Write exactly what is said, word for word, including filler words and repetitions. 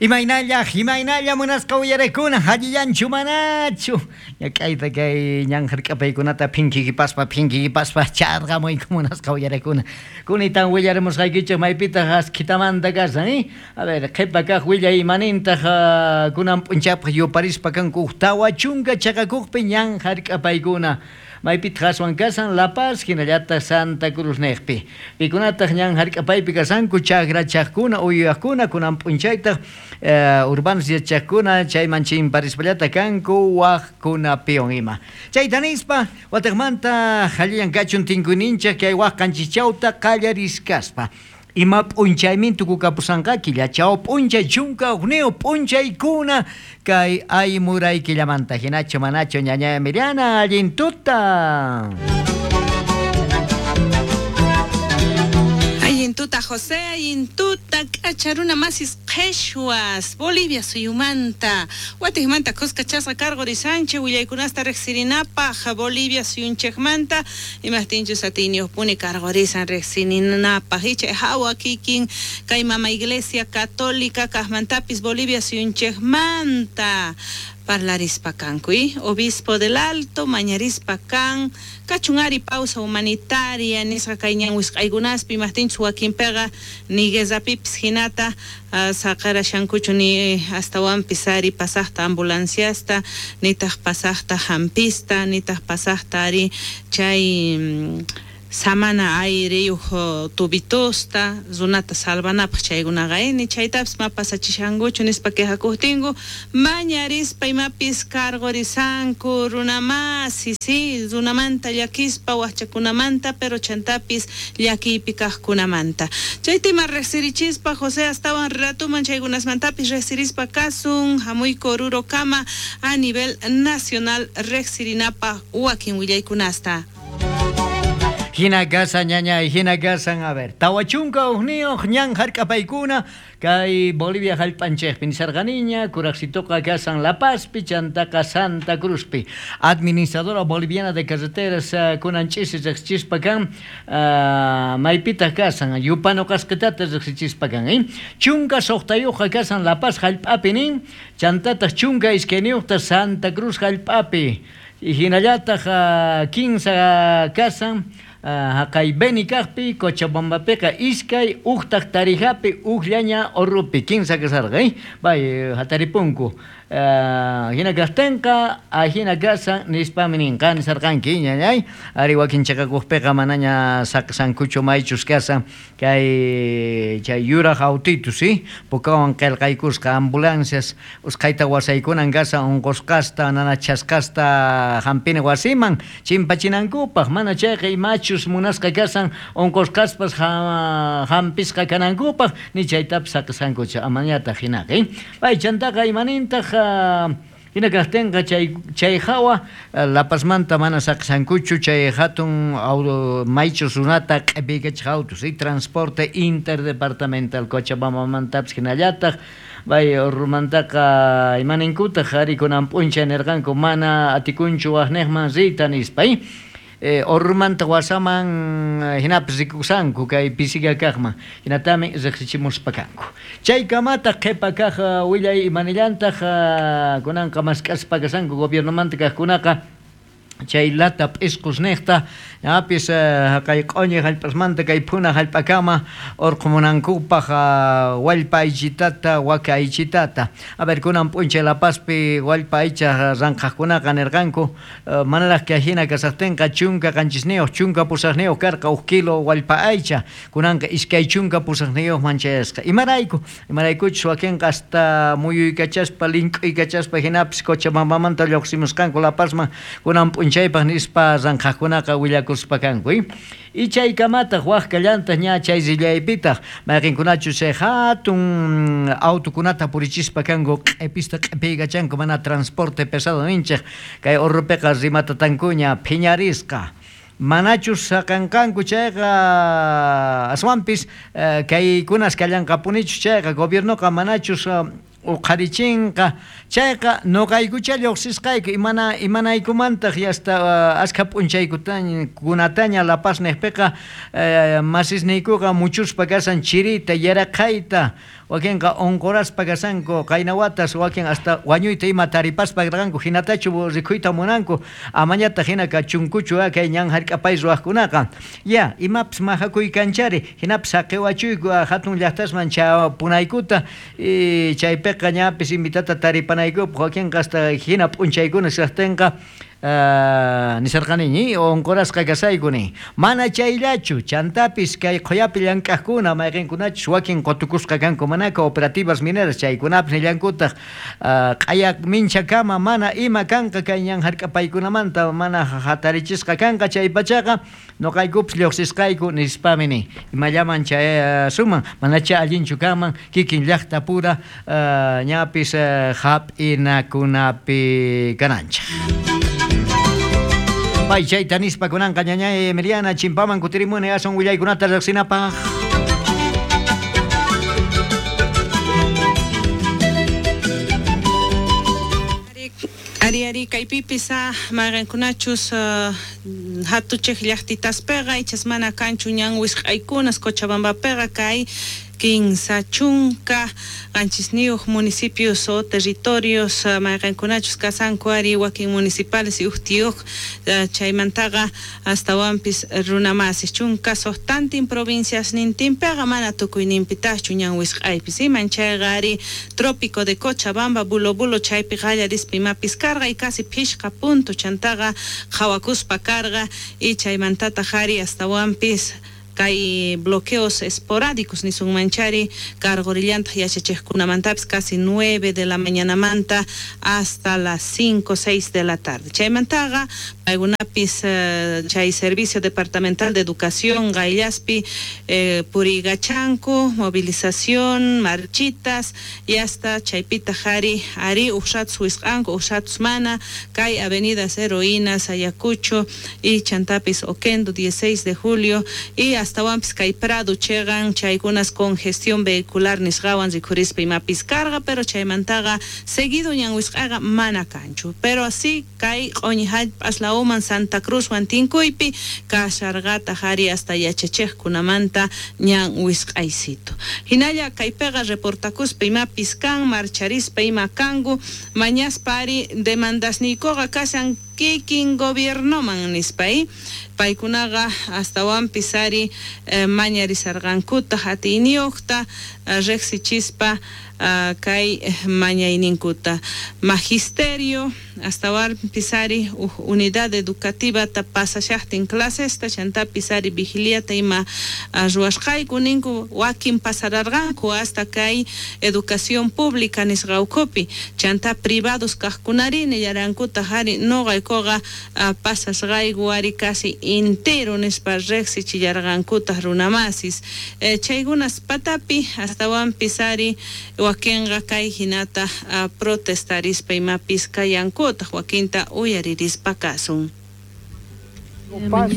Imaynalla, imaynalla munasqa uyarekuna, allillanchu manachu. Ñak'ayta kay ñan hark'apaykunata phinkikipaspa, phinkikipaspa charqamuyku munasqa uyarekuna. Kunitan willarimusqaykichik maypitaq askhitamanta kasan, eh? A ver, qhipa kaq willay imanintaq uh, kunan p'unchapaq yuparispa kanku tawa chunka chaqakuqpi ñan hark'apaykuna. Maypitaq aswan kasan La Paz, hinallataq Santa Cruz niqpi. Pikunataq ñan hark'apaypi kasanku chakrachaqkuna, uywaqkuna, kunan p'unchaytaq eh, urbanos yachaqkuna chayman chimparispallata kanku waqkunapiwan ima. Chayta nispa wataqmanta allillan kachun tinkuyninchik kay waq qanchischawta qallariskaspa. Ima p'unchaymin tukukapusanqa killachaw p'unchay chunka hukniyuq p'unchaykuna kay aymuray killamanta hinachu manachu ñaña Emiliana allin tuta. Allin tuta José, allin tuta k'acharuna masis qheshwas Bolivia suyumanta watijmanta kuskachasqa karqurisanchik willaykunasta riqsirinapaq Bolivia suyunchikmanta imajtinchus atiyniyuqpuni karqurisan riqsirinapaq icha hawa kikin kay mama Iglesia Católica kaqmantapis Bolivia suyunchikmanta parlarispa kanku, ¿eh? Obispo del Alto, mañarispa kan, kachun ari pausa humanitaria, nisqa kay ñan wisq'aykunaspi imajtinchus wakinpiqa ni guerrapipis hinata uh, saqarashankuchu ni astawanpis ari pasaqta ambulanciasta, nitaq pasaqta hampista, nitaq pasaqta ari chay mm, samana aireyuq tubitosta runata salvanapaq chaykunaqa ni chaytapis ma pasachishankuchu nispa quejakuqtinku mañarispa imapis karqurisanku runamasi sí runamanta llakispa waqchakunamanta pero chantapis llakiypi kaqkunamanta chayta ima riqsirichispa José astawan ratuman chaykunasmantapis riqsirispa kasun hamuyku Orurokama a nivel nacional riqsirinapaq wakin willaykunasta. Hina kasan ñañay, hina kasan, a ver, tawa chunka hukniyuq ñan hark'apaykuna kay Bolivia hallp'anchikpi nisarqaniña kuraqsituqa kasan La Pazpi chantaqa Santa Cruzpi. Administradora Boliviana de Carreteras uh, kunan ch'isi riqsichispa kan uh, maypitaq kasan yupanu qasqitata riqsichispa kan, eh? Chunka suqtayuqqa kasan La Paz hallp'api nin chantataq chunka iskayniyuqta Santa Cruz hallp'api. Hinallataq uh, kinsa kasan haqay Beni kaqpi Cochabambapiqa iskay uqtaq Tarijapi uqllaña Orrupi kinsa kasarqa, eh? Bay hataripunku. Uh, hina kaqtinqa ahina kasan nispami ninqa nisarqanki ñañay ari wakin chaqakuqpiqa manaña saqsankuchu maychus kasan kay chay yuraq autitus, ¿sí? Pukawan qillqaykusqa ambulancias usqhayta wasaykunan kasan unqusqasta nanachasqasta hampina wasiman chimpachinankupaq mana chayqa imachus munasqa kasan unqusqaspas ha, hampisqa kanankupaq ni chaytapis saqsankuchu amañataq hinaqa, eh? Bay chantaqa imanintaq hina kaqtinqa chay chay hawa La Pazmanta mana saqsankuchu chay hatun maychus runata q'ipiykachiq autos y transporte interdepartamental Cochabambamantapis hinallataq bay Orrumantaqa imaninkutaq ari kunan p'unchay nirqanku mana atikunchu waqniqman riyta nispa, eh? Eh, Orrumanta wasaman hinapis rikusanku kay pisiga kaqman hinatami riqsichimuspa kanku. Chaykamataq qhipa kaq willay imanillantaq kunanqa mask'aspa kasanku gobiernomanta kaqkunaqa chay lata p'isqus niqta ñapis kay q'uñi hallp'asmanta kay phuna hallp'akama urqumunankupaq wallpa aychitata waka aychitata. A ver, kunan p'unchay La Pazpi wallpa aycha ranqhaqkunaqa nirqanku manaraq kay hina kasaqtinqa chunka qanchisniyuq chunka pusaqniyuq karqa huk kilo wallpa aycha kunanqa iskay chunka pusaqniyuqman chayasqa. Imarayku imaraykuchus wakinqa hasta muyuykachaspa link'uykachaspa hinapis Cochabambamanta lluqsimusqanku La Pazman kunan p'unchaypaq nispa ranqhaqkunaqa willakuspa kanku, eh? Y chaykamataq waq kallantaq ña chay rillaypitaq mayqinkunachus chay hatun autokunata purichispa kanku q'ipista q'ipiykachanku mana transporte pesado ninchik kay Orrupiqa rimatatankuña phiñarisqa. Manachus saqanqanku chayqa aswanpis eh, kaykunas kallanqapunichus chayqa gobiernoqa manachus uh, uqharichinqa chayqa nuqaykucha lluqsisqayku imana imanaykumantaq yasta uh, askha p'unchaykunataña La Paz niqpiqa uh, masisniykuqa muchuspa kasan chirita yaraqhayta Wakinqa unquraspa kashanku qayna watas, wakin hasta wañuyta ima taripaspa karqanku, hinatachu rikuyta munanku, amañataq hina kachunkuchu kay ñan hark'apay ruwaqkunaqa. Ya, imapis majakuy kanchari, hinapis saqiwachuyku hatun llaqtasman chapunaykuta, y chaypiqa ñapis invitata taripanaykupaq, wakinqa hasta hina p'unchaykuna kaqtinqa Uh, nisarqaniñi unqurasqa kasayku ni. Mana chayllachu, chantapis kay qhuyapi llank'aqkuna mayqinkunachus wakin qutukusqa kanku mana cooperativas mineras chaykunapis nillankutaq uh, q'aya minchakama mana ima kanqa kay ñan hark'apaykunamanta mana hatarichisqa kanqa chaypachaqa nuqaykupis lluqsisqayku nispami ni. Imallaman chayasuman manacha allinchu kanman kikin llaqtapura uh, ñapis uh, hap'inakunapi kananchik. Pay chayta nispa kunanqa ñañay Emiliana chimpaman kutirimuni asun willaykunata riqsinapaq. Ari ari kaypipis mayqinkunachus uh, hatuchej llaqtitaspeqa ichas mana kanchu ñan wisq'aykunas Cochabambapeqa kay kinsa chunka qanchisniyuq municipios o territorios mayqinkunachus kasanku ari wakin municipales y uhtiyuq chaymantaqa astawanpis runamasis chunka suqtantin provincias nintinpiqa mana tukuyninpitaqchu ñan wisq'aypis iman chayqa ari trópico de Cochabamba Bulo Bulo chaypi qallarispa imapis karqa y casi phishqa punto chantaqa qhawakuspa karqa y chaymantataq ari astawanpis kay bloqueos esporádicos nisunmanchari cargorillantaq yachachikkunamantapis casi nueve de la mañanamanta hasta las cinco, seis de la tarde. Chaymantaqa paykunapis uh, chay Servicio Departamental de Educación Gaillaspi eh, purigachanku, movilización, marchitas y hasta chaypita jari ari uxatus wisq'anku uxatus mana kay avenidas Heroínas, Ayacucho y chantapis Oquendo dieciséis de julio y astawanpis kay Prado chegan chaykunas congestión vehicular nisqawan rikhurispa imapis karqa pero chaymantaqa seguido ñan wisq'aqa mana kanchu pero así kay q'uñi hallp'as lawman Santa Cruzwan tinkuypi kasharqataq ari hasta yachachiqkunamanta ñan wisq'aysito hinalla kaypiqa reportakuspa imapis kan marcharispa ima kanku mañaspa ari demandasniykuqa kashan kikin gobiernoman nispa paykunaqa astawanpis ari eh, mañarisarqankutaq atiyniyuqta eh, riqsichispa eh, kay mañayninkuta magisterio astawanpis ari uj unidad educativata pasashaqtin clasesta chantapis ari vigiliata ima ruwasqayku ninku wakin pasararqanku hasta kay educación pública nisqawkupi chanta privados kaqkunari nillarankutaq ari nuqaykuqa pasasqayku ari casi entero nispa riqsichillarqankutaq runamasis eh, chaykunas patapi astawanpis ari wakinqa kay hinata uh, protestarispa imapis kayankutaq wakinta uyaririspa kasun. Paz